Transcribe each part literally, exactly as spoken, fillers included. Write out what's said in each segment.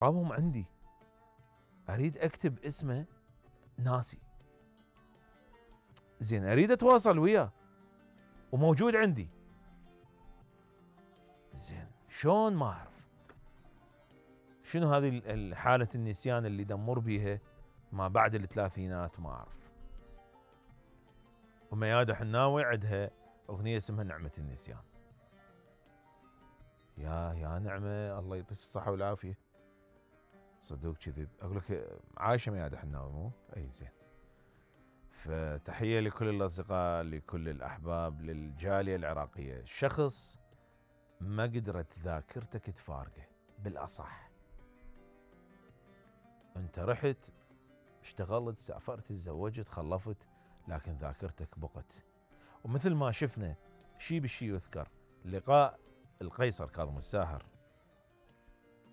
ارقامهم عندي، اريد اكتب اسمه ناسي. زين اريد اتواصل وياه وموجود عندي، زين شلون ما اعرف. شنو هذه حالة النسيان اللي دمر بيها ما بعد الثلاثينات؟ ما اعرف. وميادة حناوي عندها اغنية اسمها نعمة النسيان. يا يا نعمة الله يعطيك الصحة والعافية. صدوق كذب اقول لك عايشة ميادة حناوي مو؟ اي زين. فتحية لكل الاصدقاء، لكل الاحباب، للجالية العراقية. شخص ما قدرت ذاكرتك تفارقه، بالاصح انت رحت اشتغلت سافرت تزوجت خلفت لكن ذاكرتك بقت. ومثل ما شفنا شي بالشي يذكر، لقاء القيصر كاظم الساهر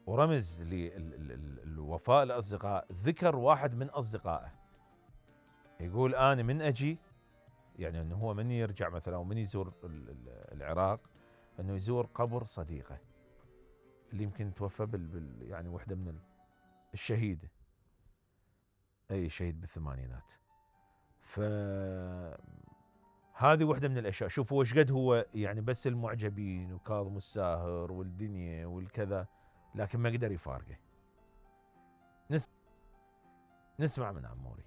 ورمز للوفاء الاصدقاء، ذكر واحد من اصدقائه يقول انا من اجي، يعني انه هو من يرجع مثلا او من يزور العراق انه يزور قبر صديقه اللي يمكن توفى بال, بال يعني وحده من الشهيده، اي شهيد بالثمانينات. ف هذه وحده من الاشياء. شوفوا وش قد هو يعني بس المعجبين وكاظم الساهر والدنيا والكذا، لكن ما قدر يفارقه. نس... نسمع من عموري.